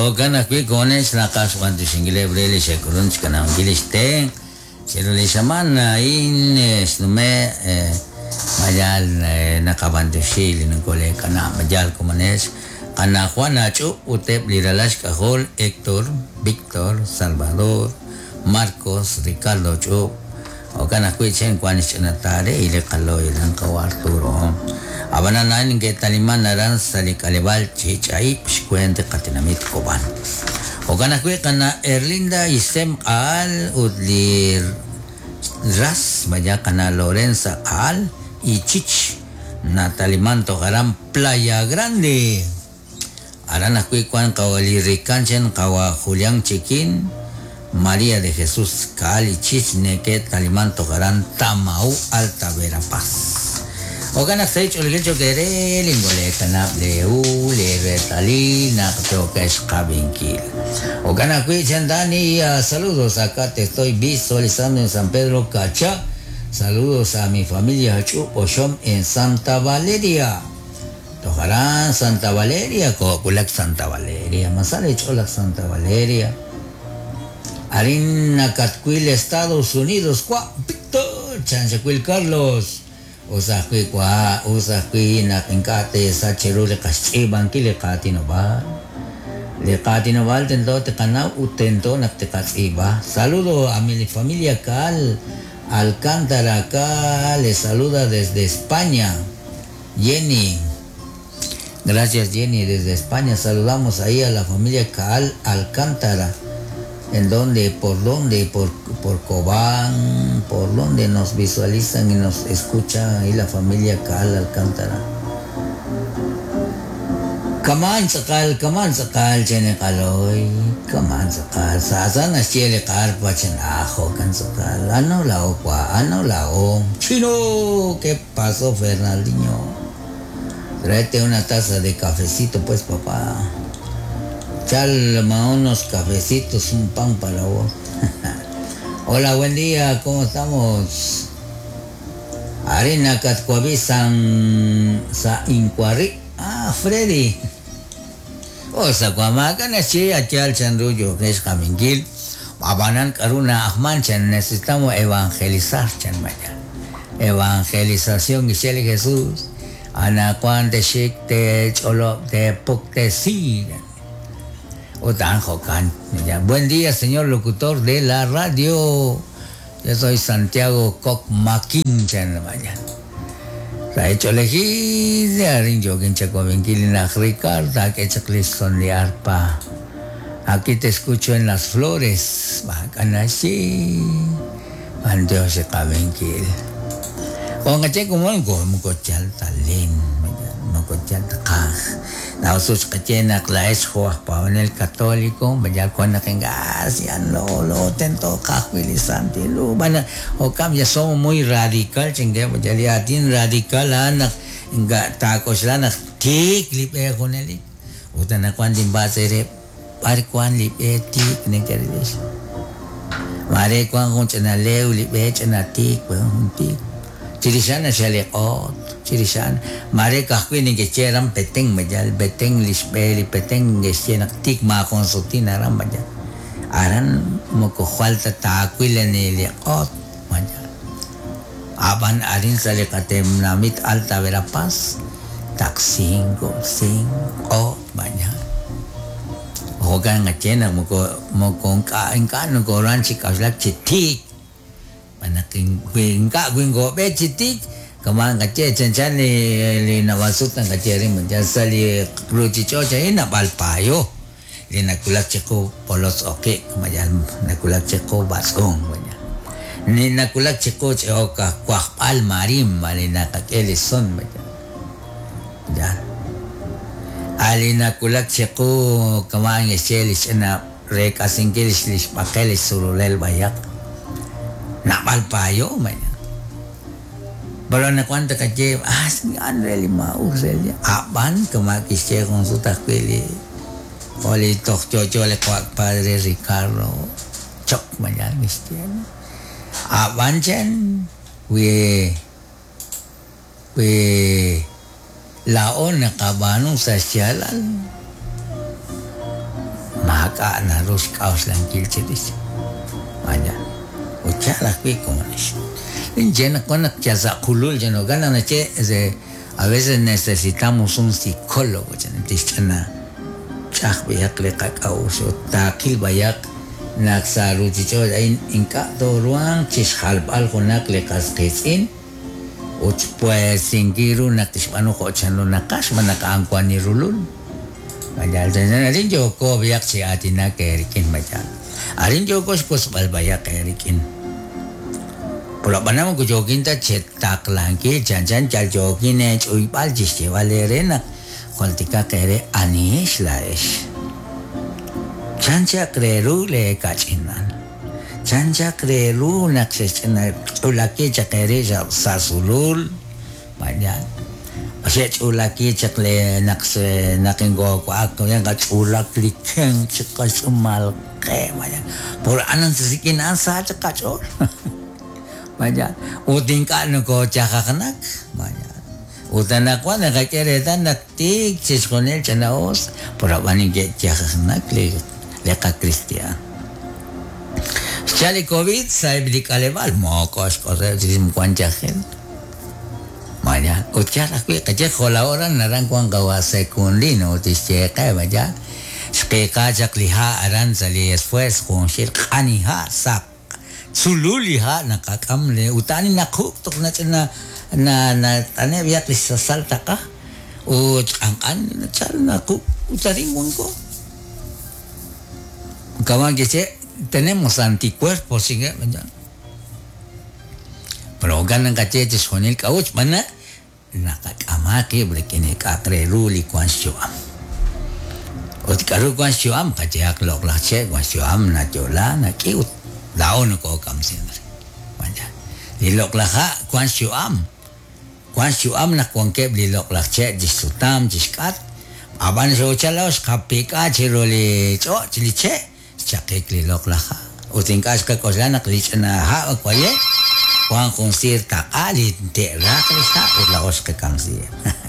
Jo'kan ajwi' ko'onex naqaj xb'anyoxinkileb' re li xe'k'ulunk xkanab'ankil li xtenq' chiru li xamaan a'in xnume' ma yaal naqab'anyoxi li nokoleek'anab' ma yaal komonex qana' Juan Ach'ub' ut eb' li ralal xk'ajol Héctor, Víctor, Salvador, Marcos, Ricardo Ch'ub'. Jo'kan ajwi' chen wank xch'ina taare y li qalo'y aran qawa' Arturo. Ab'anan a'in neke'taliman aran sa' li k'aleb'aal Chich'a'ib' xweent li qatenamit Kob'an. Jo'kan ajwi' qana' Erlinda Isem Q'a'al ut li ras vaya qana' Lorenza Q'a'al y Chich nataliman toj aran Playa Grande. Aran ajwi' wank qawa' li rikan chen qawa' Julián Chiquín, María de Jesús Caal y Chich neke'taliman toj aran Tamau, Alta Verapaz. Jo'kan naq sa' ch'oolejil cho'q eere lingoleekanab' leehu, leereetalil naq yookex qab'inkil. Jo'kan ajwi' chen Dani, saludos acá te estoy visualizando en San Pedro Cacha. Saludos a mi familia Ch'ub' Oxom en Santa Valeria. Toj aran Santa Valeria, koowulak Santa Valeria, ma sa leech'ool laj Santa Valeria. Arin nakatwil Estados Unidos wa' Víctor, chan xawil Carlos. Us ajwi' wa', us ajwi' naq ink'a' teesach cheru li qaxtz'iib'ankil li qaatinob'aal. Li qaatinob'aal tento tiqanaw ut tento naq tiqatz'iib'a. Saludo a mi familia Caal Alcántara acá les saluda desde España. Jenny. Gracias Jenny desde España. Saludamos ahí a la familia Caal Alcántara. ¿En dónde? ¿Por dónde? Por, por Cobán. ¿Por dónde nos visualizan y nos escuchan ahí la familia Caal Alcántara? Kaman tz'aqal, kaman tz'aqal chen qaloy, kaman tz'aqal, sa naxye li qarpa chen ajo kan tz'aqal, ano lao kwa, ano lao. Chino, ¿qué pasó Fernandinho? Tráete una taza de cafecito pues papá. Chalma unos cafecitos, un pan para vos. Hola, buen día, ¿cómo estamos? Arena Catcuaví San Sa Incuarri. Ah, Freddy. O sa cuamaca nachi achal chanruyo que es jaminquil. Abanan karuna ahmanchan necesitamos evangelizar chan maya. Evangelización Giselle Jesús. Ana cuante shik te cholo te puk te si. Otan jokan. Ya. Buen día, señor locutor de la radio. Yo soy Santiago Cocmaquín chan maya. Sa hecho elegir arin yo kinchacovinquilina Ricardo que son de arpa. Aquí te escucho en las flores. Bacanashi. Dios se cabenquil. Con che como algo mocochal talin. Mocochal kaj. La osus kachena la es el católico. Ya con la lo lo tento kaj santi lu. Bana o cam ya somos muy radical chingue ya ya tin radical anak nga tacos la nak tik lip e con el. Utana kwan din ba sere par kwan lip e tik ne kerilis. Mare kwan kung chana leu lip e chana tik un tik. Chirishana shaliqot, chirishana. Mare kahkwin ni cheram peteng majal, beteng lishbeli, peteng geshenak tik ma consultina aran majal. Aran moko falta takwila ni liqot majal. Aban arin saliqatem namit alta verapaz, tak cinco, cinco majal. Hogan ngachena moko moko nka nka no koran chikaslak chitik. Manaking winka wingo be chitik kaman kache chan li li nawasutan kache rin man sali ruchicho cha ina palpayo li nakulak chiko polos oke kamayan nakulak chiko basong manya ni nakulak chiko choka kwakpal marim mali nakakeli son manya ya ali nakulak chiko kaman eshelis na rekasingkilis lis pakelis surulel bayak napalpayo manya. Pero na cuánto caché, ah, anreli ma usel aban kama kische con su takwili. Oli tok chocho le kwak padre Ricardo chok manya cristiano. Aban chen we we laon nakabano sa siyalal. Maak'a' naru xk'a'uxlankil chirix. Vaya. Ut yaal ajwi' komonix. Ninye naq wan naq yal sa' qulul chan jo'kan naq naxye ese a veces necesitamos un psicólogo chan tixch'ina ch'aj b'ayaq li qak'a'uxl ut taaqil b'ayaq naq sa' ruuchich'och' a'in ink'a' tooruhanq chixjalb'al junaq li qas qiitz'in ut xpuesinkil ru naq tixb'aanu jo' chanru naqaj xb'aan naq a'an wan li rulul. Mayal chanchan arin yooko b'ayaq chi aatinak eerik'in mayal. Arin yooko xwotzb'al b'ayaq eerik'in. Pero ab'anan moko yookin ta chetaqlankil chanchan yal yookin eech'uyb'al chi xyeeb'al eere naq jultikaq eere anihex laa'ex. Chan chaq re ru leekach'inal. Chan chaq re ru naq xexch'ina ch'ulaki chaq eere sa' sulul. Mayal. Xe'ch'ulaki chaq le naq naq inkoowa'ak qach'ulak li kenq chi qatz'uumal qe mayal. Por a'an rik'in a'an sa chaq qach'ool. Mayal. Ut ink'a' nokoochajajnak. Mayal. Ut anaqwan naqak'e reetal naq tiik chixjunil ch'ina'us, por ab'an neke'chajajnak li li qakristi'aan. Xchal li COVID sa'eb' li k'aleb'aal, moko xk'oseb' chik wan yajel. Mayal. Ut yaal ajwi' qaye jo' la hora naran wan qawa' Secundino ut tixye qe mayal. Xqiiqa chaq li ha' aran sa' li esfuerzo junxil q'ani ha' saq. Tzulul li ha' naqak'am le ut a'an naquk' toj nach'ina na nat'ane' b'ayaq li sasal taq'a ut q'anq'an nachal naquk' ut arin wanko. Kama' kixye tenemos anticuerpos chinkeb' mayal. Pero jo'kan naqaye chixjunil k'a'ut xb'aan naq naqak'ama qib' rik'in li k'a'aq re ru li wank xyu'am. Ut k'aru wank xyu'am? Qayehaq loq'laj che' wank xyu'am, nayo'la, nak'i ut laa'o nokookamsink re. Li loq'laj ha' wank xyu'am, wank xyu'am naq wankeb' li loq'laj che' chi xsutam, chi xk'atq, ab'an xoochal laa'o xqapik'a chiru li ch'och' li che', Xchaqik li loq'laj ha'. Ut ink'a' xqak'oxla naq li ch'ina ha' waye' wank jun siir taq'a li te'raj li ha' ut laa'o xqakamsiheb'.